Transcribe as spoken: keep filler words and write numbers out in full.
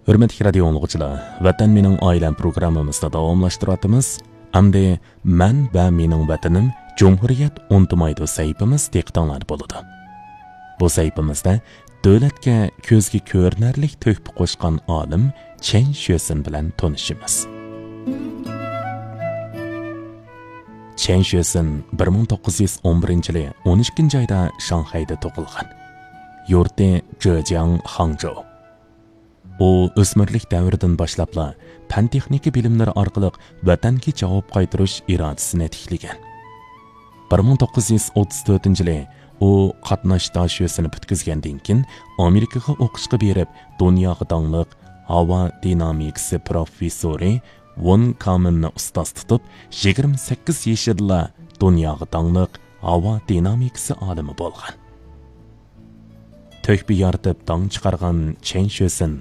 ھۆرمەتلىك رادىيو ئاڭلىغۇچىلار، ۋەتەن مېنىڭ ئائىلەم پروگراممىمىزنى داۋاملاشتۇرۇۋاتىمىز. ئەمدى مەن ۋە مېنىڭ ۋەتىنىم جۇمھۇرىيەت ئۇنتۇمايدۇ سەھىپىمىز دىققىتىڭلاردا بولىدۇ. بۇ سەھىپىمىزدە دۆلەتكە كۆزگە كۆرۈنەرلىك تۆھپە قوشقان ئالىم چەن شۆسىن بىلەن تونۇشىمىز. چەن شۆسىن بىر مىڭ توققۇز يۈز ئون بىرىنچى يىلى ئون ئىككىنچى ئايدا شاڭخەيدە تۇغۇلغان. يۇرتى جېجياڭ، خاڭجۇ. ئۇ ئۆسمۈرلۈك دەۋرىدىن باشلاپلا پەن-تېخنىكا بىلىملىرى ئارقىلىق ۋەتەنگە جاۋاب قايتۇرۇش ئىرادىسىنى تىكلىگەن. بىر مىڭ توققۇز يۈز ئوتتۇز تۆتىنچى يىلى ئۇ قاتناش داشۆسىنى پۈتكۈزگەندىن كېيىن، ئامېرىكىغا ئوقۇشقا بېرىپ، دۇنياغا داڭلىق ھاۋا دىنامىكىسى پروفېسسورى ۋون كامېننى ئۇستاز تۇتۇپ، يىگىرمە سەككىز يېشىدىلا دۇنياغا داڭلىق ھاۋا دىنامىكىسى ئالىمى بولغان. تۆھپە يارىتىپ داڭ چىقارغان چەن شۆسىن